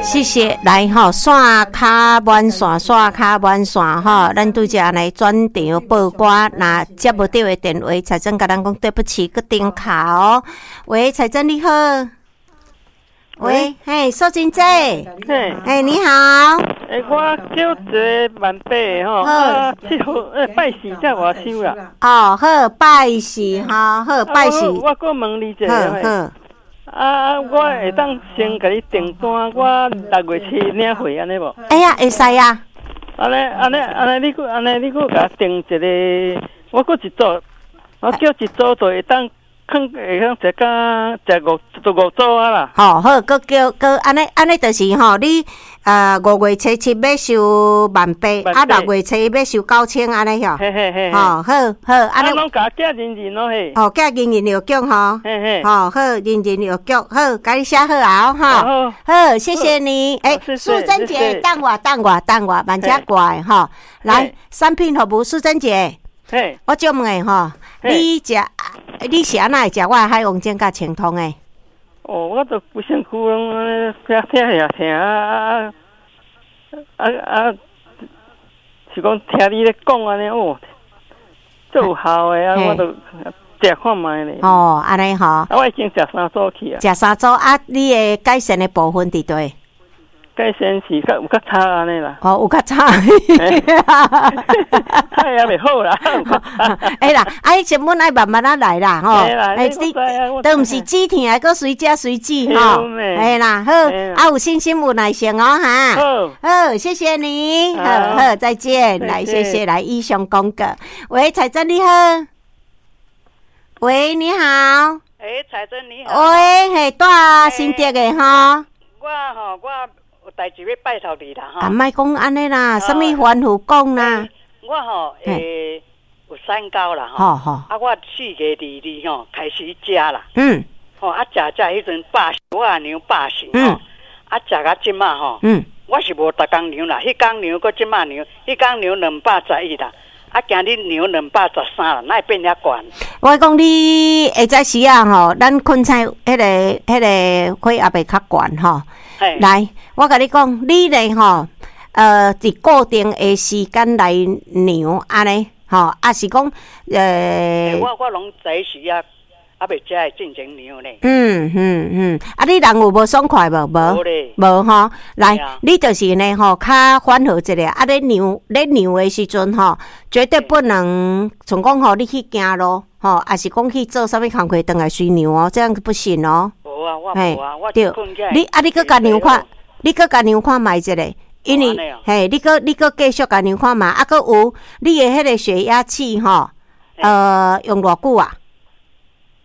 謝謝，來吼，線卡滿線，線卡滿線吼，咱拄才來轉場報歌，若接無著的電話，彩珍共咱講對不起，閣重敲哦。喂，彩珍你好。喂，嘿，素貞姐。嘿，嘿，你好。欸，我叫一个萬八的吼，啊，7號，欸，拜四才外收啦。哦，好，拜四吼，好，拜四。我閣問你一下。好好。啊，我會當先共你訂單，我6月7領貨按呢無？會啊，會使啊。按呢，按呢，按呢，你閣按呢，你閣共我訂一个，我閣一組，我叫一組就會當。囥會當食甲食五就五組啊啦。吼好，閣叫閣按呢按呢，就是吼，你5月初7欲收萬八，啊6月初一欲收9000按呢吼。嘿嘿嘿。吼好好，按呢。攏共寄人人咯嘿。哦，寄人人郵局吼。嘿嘿。吼好，人人郵局好，共你寫好啊吼。好，謝謝你。欸，素貞姐，等我等我等我，慢遮掛的吼。來，產品服務，素貞姐。嘿。我借問下吼，你食？你是按怎會食我的海王煎佮清湯的？哦，我就規身軀攏按呢疼疼也疼啊啊啊！是講聽你咧講按呢哦，足有效的啊！我就食看覓咧。哦，按呢吼。啊，我已經食三組去啊。食三組啊！你的改善的部分佇佗？改善是較有較差按呢啦。哦，有較差。太也袂好啦。欸啦，啊，彼成本愛慢慢仔來啦，吼。欸，你都毋是止疼，閣隨食隨止吼。嘿啦，好，啊有信心有耐性哦，哈。好，好，謝謝你，好好，再見，來，謝謝，來，以上廣告。喂，彩珍你好。喂，你好。欸，彩珍你好。喂，嘿，住新竹的吼。我吼，我有代誌欲拜託你啦吼。啊，莫講按呢啦，啥物煩惱講啦。我吼，欸，有三高啦吼。啊，我4月22吼開始食啦。吼，啊，食食彼陣百，我也量110吼。啊，食到這馬吼。我是無逐工量啦，彼工量閣這馬量，彼工量211啦。啊，今日量213啦，哪會變遐懸？我講你下早時啊吼，咱囥醒彼個血壓會較懸吼。來，我共你講，你咧吼，佇固定的時間來量按呢，吼，抑是講，我攏早時啊，猶未食的進前量咧。嗯嗯嗯，啊，你人有無爽快無？無，無咧。無吼。來，你就是呢吼，較緩和一下。啊，咧量的時陣吼，絕對不能像講吼，你去行路吼，抑是講去做啥物工課，轉來隨量哦，這樣不行哦。無啊，我無啊，我對，你啊，你閣共量看，你閣共量看覓一下，因為嘿，你閣繼續共量看覓，啊，閣有你的彼個血壓器吼，用偌久啊？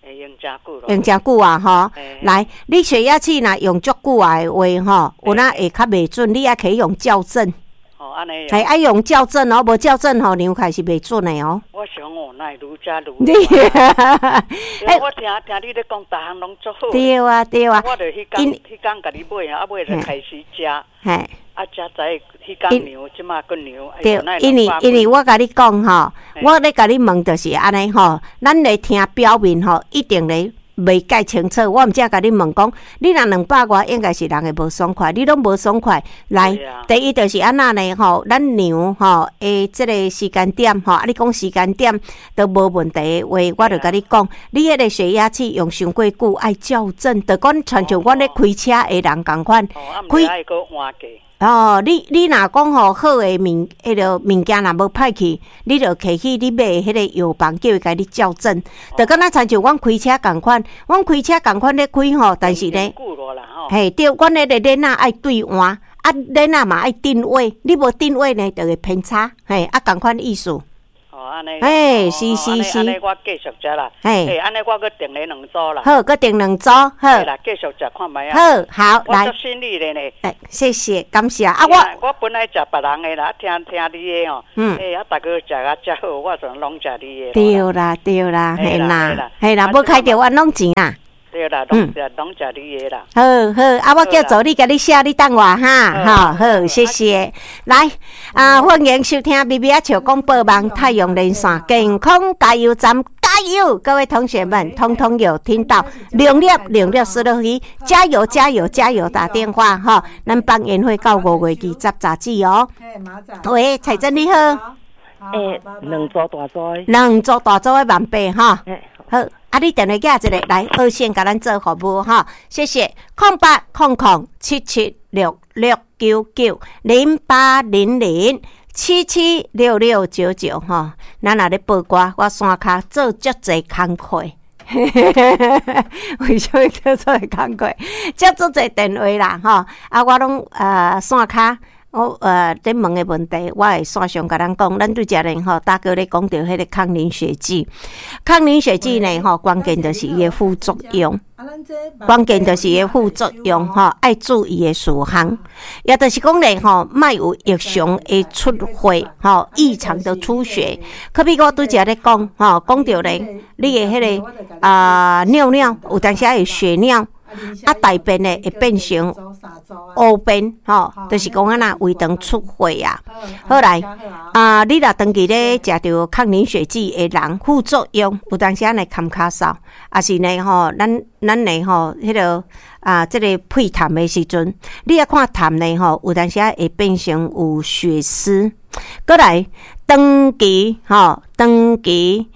用誠久用誠久啊，吼！來，你血壓器若用足久啊的話，吼，有哪會較袂準，你愛去用校正。哦，按呢。嘿，愛用校正哦，無校正吼，量起來是袂準的哦。我想哦，哪會愈食愈。你，欸，我聽聽你咧講，逐項攏足好。對啊，對啊。我就彼工彼工共你買啊，買就開始食。嘿。啊，才知彼工量，這馬閣量。對，因為我共你講吼，我咧共你問就是按呢吼，咱咧聽表面吼，一定咧袂蓋清楚。我毋才共你問講，你若兩百外，應該是人會無爽快，你攏無爽快。來，第一就是按怎呢吼，咱量吼的這个時間點吼，啊，你講時間點都無問題的話，我就共你講，你彼个血壓器用傷過久，愛校正，就講親像阮咧開車的人仝款，開。哦，你若講吼好的物，彼个物件若無歹去，你就提去你買的彼个藥房，叫伊共你校正。就敢若親像阮開車仝款，阮開車仝款咧開吼，但是呢，嘿對，阮彼个鏈仔愛對換，啊鏈仔嘛愛定位，你無定位呢，就會偏差，嘿，啊仝款意思。哦，按呢，嘿，是是是，按呢我繼續食啦。嘿，按呢我閣訂咧兩組啦。好，閣訂兩組，好。啦，繼續食看覓啊。好，好，來。我足信你的呢。欸，謝謝，感謝。啊，我我本來食別人的啦，聽聽你的吼。欸，啊，逐个食啊遮好，我就攏食你的。對啦，對啦，嘿啦，嘿啦，無開著冤枉錢啊。對啦，攏食攏食你的啦。好好，啊，我叫助理共你寫，你等我哈，好好，謝謝。來，啊，歡迎收聽微微仔笑廣播網太陽連線健康加油站，加油！各位同學們，通通有聽到，兩粒兩粒思樂魚，加油加油加油！打電話哈，咱放煙火到5月20雜誌哦。喂，彩珍你好。欸，兩組大組的。兩組大組的萬八哈。好，啊，你電話寄一個來，熱線共咱做服務哈，謝謝。08007766990800776699吼。咱若咧報歌，我山跤做足濟工課。為啥物叫做工課？接足濟電話啦，吼！啊，我攏線跤。我咧問的問題，我會線上共咱講。咱拄才咧吼，大哥咧講著彼個抗凝血劑，抗凝血劑呢吼，關鍵就是伊的副作用，關鍵就是伊的副作用吼，愛注意的事項，也就是講咧吼，莫有異常的出血吼，異常的出血。可比我拄才咧講吼，講著咧，你的彼個啊尿尿有當時會血尿。啊，大便呢會變成烏便，吼，就是講按怎胃腸出血啊。好來，啊，你若長期咧食著抗凝血劑的人，副作用有當時仔會咳咳嗽，抑是呢吼，咱呢吼，彼個啊，這個屁痰的時陣，你愛看痰呢吼，有當時仔會變成有血絲。閣來，長期吼，長期。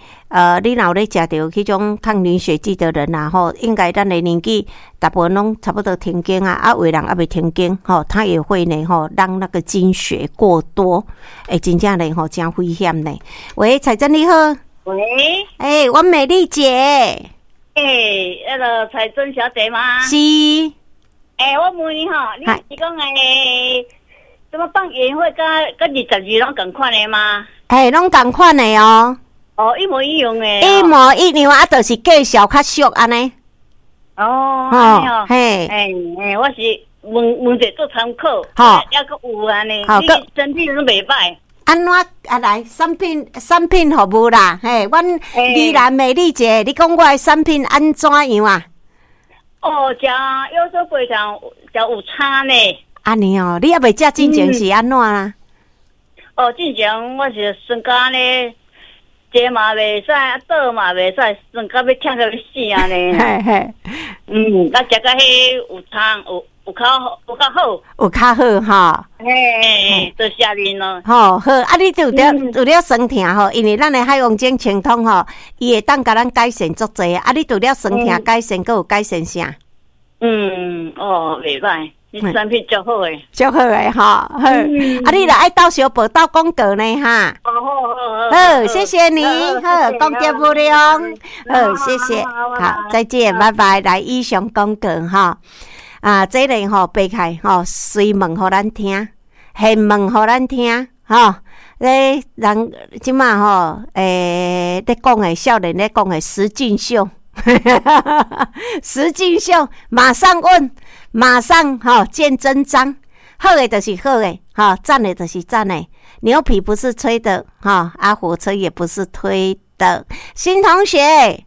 你若有咧食著彼種抗凝血劑的人啊，吼，應該咱的年紀大部分攏差不多停經啊，啊，有的人猶未停經，吼，他也會呢，吼，讓那個經血過多，會真正呢，吼，真危險呢。喂，彩珍你好。喂。欸，阮美麗姐。欸，那個彩珍小姐嗎？是。欸，我問你吼，你是講欸，怎麼放煙火佮22攏仝款的嗎？欸，攏仝款的哦。哦，一模一樣的。一模一樣啊，就是介紹較俗按呢。哦，哦，嘿，欸欸，我是問問一下做參考，吼，猶閣有按呢，你身體攏袂歹。按怎啊來？產品服務啦，嘿，阮宜蘭美麗姐，你講我的產品按怎樣啊？哦，食腰酸背痛，食有差呢。按呢哦，你猶未食進前是按怎啊？哦，進前我是酸甲呢。坐嘛袂使，倒嘛袂使，酸甲欲忝甲欲死按呢。嘿嘿，嗯，啊，食甲彼有差，有較好，有較好吼。嘿，多謝恁咯。吼好，啊，你除了酸痛吼，因為咱的海王精清通吼，伊會當共咱改善足濟。啊，你除了酸痛改善，閣有改善啥？嗯，哦，袂歹。你產品足好的，足好的吼，好。啊，你若愛鬥相報鬥廣告呢，哈。哦，好好好。好，謝謝你，好，功德無量。好，謝謝，好，再見，拜拜。來，以上廣告吼，啊，這個吼白開吼，隨問予咱聽，現問予咱聽，吼。咧人這馬吼，欸，咧講的少年咧講的實境秀。實境秀，馬上問，馬上吼見真章。好的就是好的，吼讚的就是讚的。牛皮不是吹的，哈啊，火車也不是推的。新同學，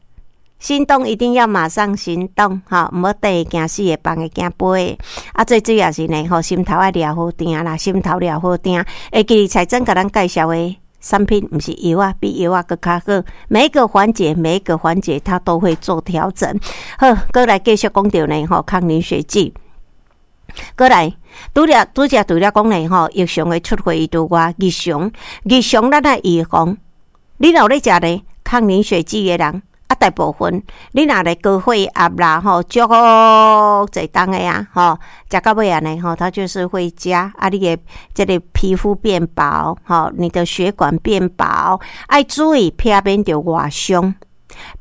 心動一定要馬上行動，吼，毋好等會驚死的，放會驚飛的。啊，最主要是呢，吼，心頭愛掠好定啦，心頭掠好定。會記得彩珍共咱介紹的產品毋是藥仔，比藥仔閣較好。每一個環節，每一個環節，它都會做調整。好，閣來繼續講著呢，吼，抗凝血劑。閣來，拄才除了講呢，吼，異常的出血以外，日常咱愛預防。你若有咧食呢抗凝血劑的人，啊，大部分你若咧高血壓啦，吼，足濟重的啊，吼，食到尾按呢，吼，它就是會加啊，你的這個皮膚變薄，吼，你的血管變薄，愛注意避免著外傷，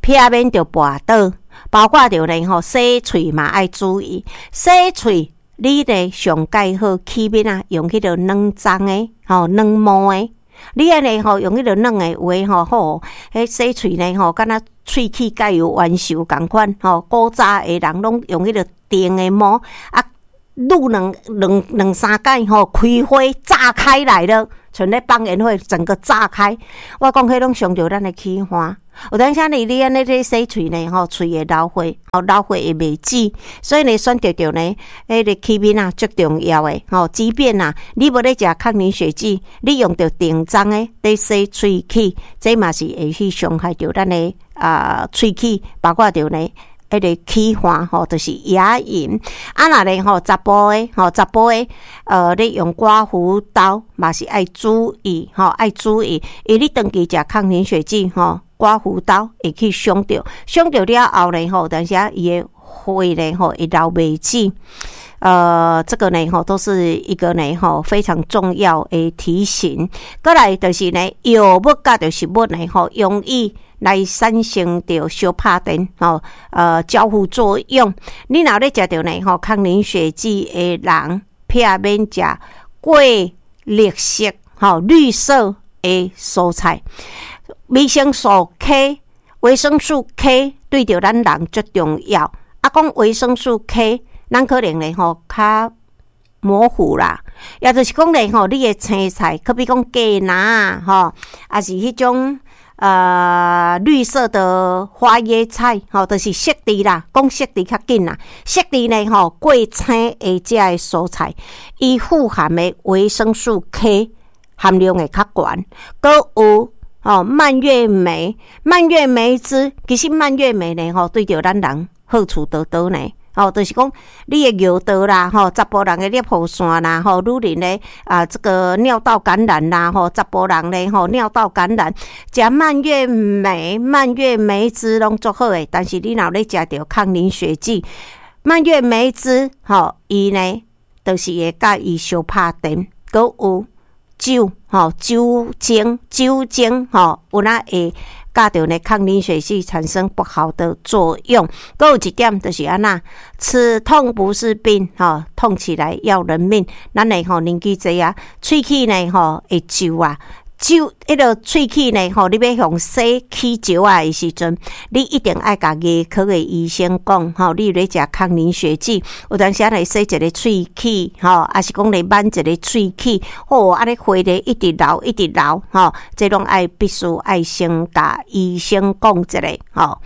避免著跋倒，包括著呢，吼，洗喙嘛愛注意，洗喙你呢上蓋好起面啊，用彼個軟髒的，吼，軟毛的。你按呢吼，用彼個軟的有的吼好，彼洗喙呢吼，敢若喙齒佮有冤仇仝款吼。古早的人攏用彼個長的毛啊，擼兩三擺吼，開花炸開來了，像咧放煙火，整個炸開。我講彼攏傷著咱的齒岸。有當時你按呢咧洗喙呢，吼，喙會流血，吼，流血會袂止，所以呢，選擇著呢，彼个器皿啊，足重要的，吼，即便啊，你無咧食抗凝血劑，你用著定裝的咧洗喙齒，這嘛是會去傷害著咱的啊喙齒，包括著呢，彼个齒環吼，就是牙齦。啊，若咧吼，查埔的吼，查埔的，你用刮鬍刀嘛是愛注意吼，愛注意，因為你長期食抗凝血劑吼，刮鬍刀會去傷著，傷著了後咧吼，當時啊伊的血咧吼會流袂止。這個呢吼，都是一個呢吼非常重要的提醒。閣來就是呢，藥物佮著食物呢吼，容易來產生著相拍電吼，交互作用。你若咧食著呢吼抗凝血劑的人，避免食過綠色吼綠色的蔬菜。維生素 K，維生素 K 對著咱人足重要。啊，講維生素 K，咱可能咧吼較模糊啦，也就是講咧吼，你的青菜，可比講雞蟶吼，抑是彼種綠色的花椰菜，吼，就是色治啦，講色治較緊啦。色治呢吼，過青的這个蔬菜，伊富含的維生素 K 含量會較懸，閣有吼蔓越莓，蔓越莓汁，其實蔓越莓呢吼，對著咱人好處多多呢。吼，就是講你的尿道啦，吼，查埔人的尿線啦，吼，女人的啊，這個尿道感染啦，吼，查埔人咧，吼，尿道感染，食蔓越莓、蔓越莓汁攏足好的，但是你若咧食著抗凝血劑，蔓越莓汁，吼，伊呢，就是會佮伊相拍電，閣有酒，吼，酒精，酒精，吼，有哪會佮著呢抗凝血劑產生不好的作用。閣有一點就是按怎，此痛不是病，吼，痛起來要人命。咱的吼年紀濟啊，喙齒呢吼會皺啊，皺彼个喙齒呢吼，你欲予洗起石仔的時陣，你一定愛共牙科的醫生講，吼，你有咧食抗凝血劑，有當時來洗一个喙齒，吼，抑是講來挽一个喙齒，吼，按呢血咧一直流，一直流，吼，這攏愛必須愛先共醫生講一下，吼，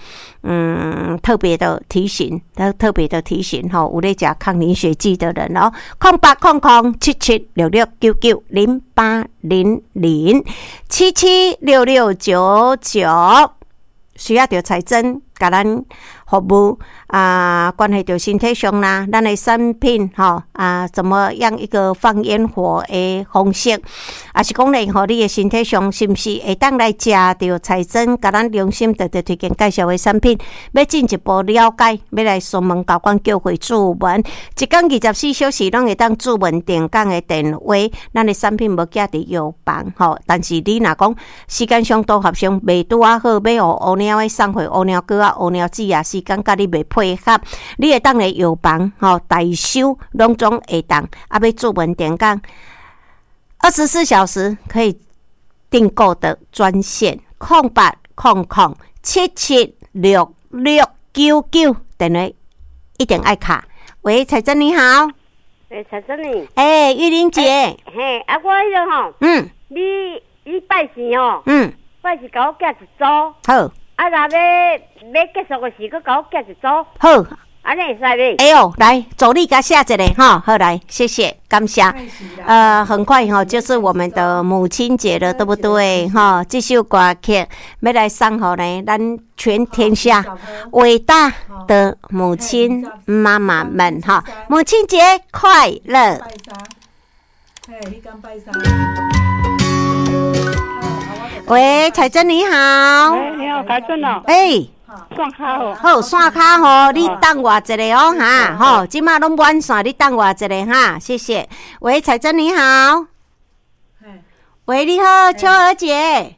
特別的提醒，特別的提醒，吼，有咧食抗凝血劑的人哦，08007766990800776699，需要著彩珍共咱服務啊，關係著身體上啦，咱的產品吼啊，怎麼樣一個放煙火的方式，抑是講咧吼，你的身體上是毋是會當來食著彩珍共咱良心特別推薦介紹的產品，欲進一步了解，欲來詢問交關叫會注文，一工24小時攏會當注文定崗的電話，咱的產品無寄佇藥房吼，但是你若講時間上都合上袂拄仔好，欲予烏貓的送貨烏貓哥啊烏貓姊啊，時間佮你袂配合，你會當來藥房吼代收，攏總會當，啊，欲注文定崗，24小時可以訂購的專線0800776699，電話一定愛敲。喂，彩珍你好。欸，彩珍你。欸，玉玲姐。嘿，啊，我彼个吼，你拜四吼，拜四共我寄一組。好。啊，若欲欲結束的時，閣共我寄一組。好。按呢會使袂？會哦，來，助理共寫一下哈，好來，謝謝，感謝。很快哈，就是我們的母親節了，對不對？哈，這首歌曲欲來送予呢，咱全天下偉大的母親媽媽們哈，母親節快樂。喂，彩珍你好。喂，你好，彩珍哦。欸。線卡好，好線卡吼，你等我一下哦哈，吼，這馬攏滿線，你等我一下哈，謝謝。喂，彩珍你好。喂，你好，秋娥姐。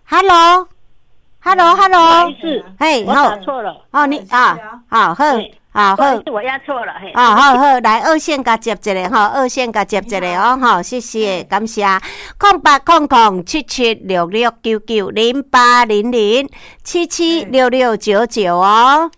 Hello，Hello，Hello。嘿，我打錯了。哦，你啊，好好。好好，我壓錯了，嘿。啊，好好，來二線共接一下吼，二線共接一下哦，吼，謝謝，感謝。08007766990800776699哦。